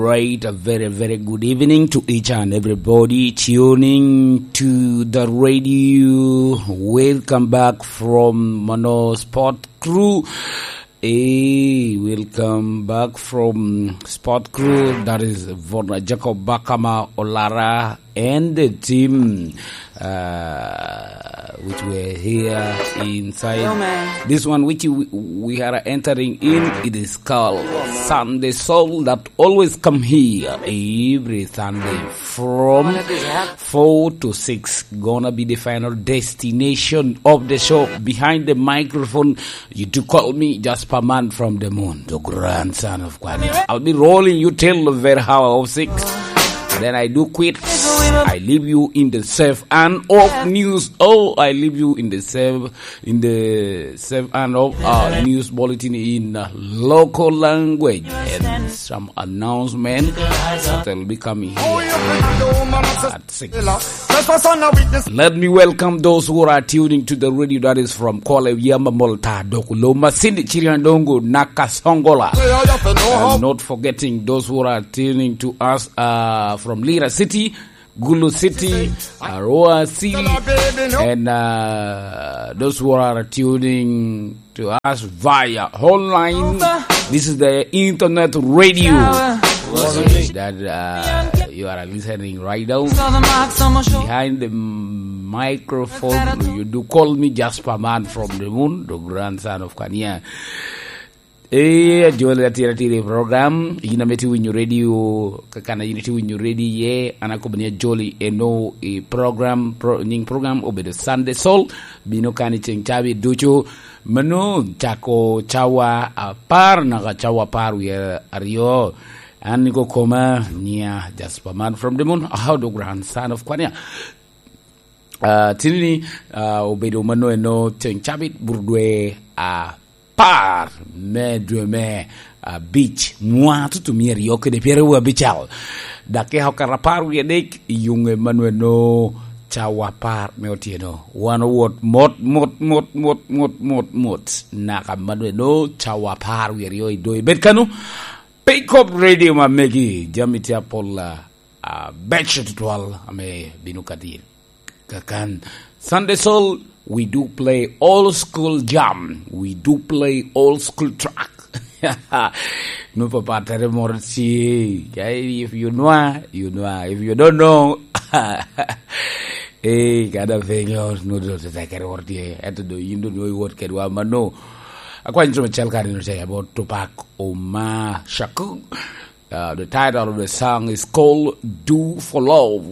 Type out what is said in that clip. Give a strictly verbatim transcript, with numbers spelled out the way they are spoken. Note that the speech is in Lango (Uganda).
Right, a very, very good evening to each and everybody tuning to the radio. Welcome back from Mano Sport Crew. Hey, welcome back from Sport Crew. That is Vorna Jacob Bakama Olara and the team, uh, which were here inside. Hello, man. This one, which we, we are entering in, it is called Sunday Soul, that always come here every Sunday from four to six. Gonna be the final destination of the show. Behind the microphone, you do call me Jasper Man from the Moon, the grandson of Kwame. I'll be rolling you till the very hour of six. Then I do quit. I leave you in the safe hand of news. Oh, I leave you in the safe, in the safe hand of, uh, news bulletin in, uh, local language and some announcement that will be coming here at six. Let me welcome those who are tuning to the radio that is from Kwale Yama Molta Dokuloma Cindy Chiriandongo Nakasongola. And not forgetting those who are tuning to us, uh, from Lira City, Gulu City, Arua City, and, uh, those who are tuning to us via online. This is the internet radio that, uh, you are listening right now. Behind the microphone, you do call me Jasper Man from the Moon, the grandson of Kania. Eh, ajoli atira atira i program, yin ame tye winyo radio, kakana yin tye winyo radio ye, an akobo ni ajoli eno i program, pro-, nying program obedo Sunday Soul, bino kan i ceng cawa ducu, mano cako cawa apar naka cawa apar wie aryo. An niko koma nia Jasper Man from the Moon, how the grandson of Kwania. Ah, tini ni, ah, obedo mano eno ceng cabit burudwe apar me dwe me abic, mwa tutu mia aryo kede pyeraryo abical. Dakika okato apar wie adek i yuŋe mano eno cawa apar me otyeno. Wan owot mot, mot, mot, mot, mot, mot, mot. Naka mano eno cawa apar wie aryo i doŋ ibed kano. Pick up radio ma megi, jami tye apol, ah, ah, beco tutwal ame bino ka dir. Kakan Sunday Soul, we do play old school jam. We do play old school track. No papa tere moro si. If you know, you know. If you don't know, eh, kada venyo, no do te kere wor tie. Eto do yindo no iwot kedwa mano. Akwa intro machal kare no te about Tupac Omar Shakur. Uh, the title of the song is called Do for Love.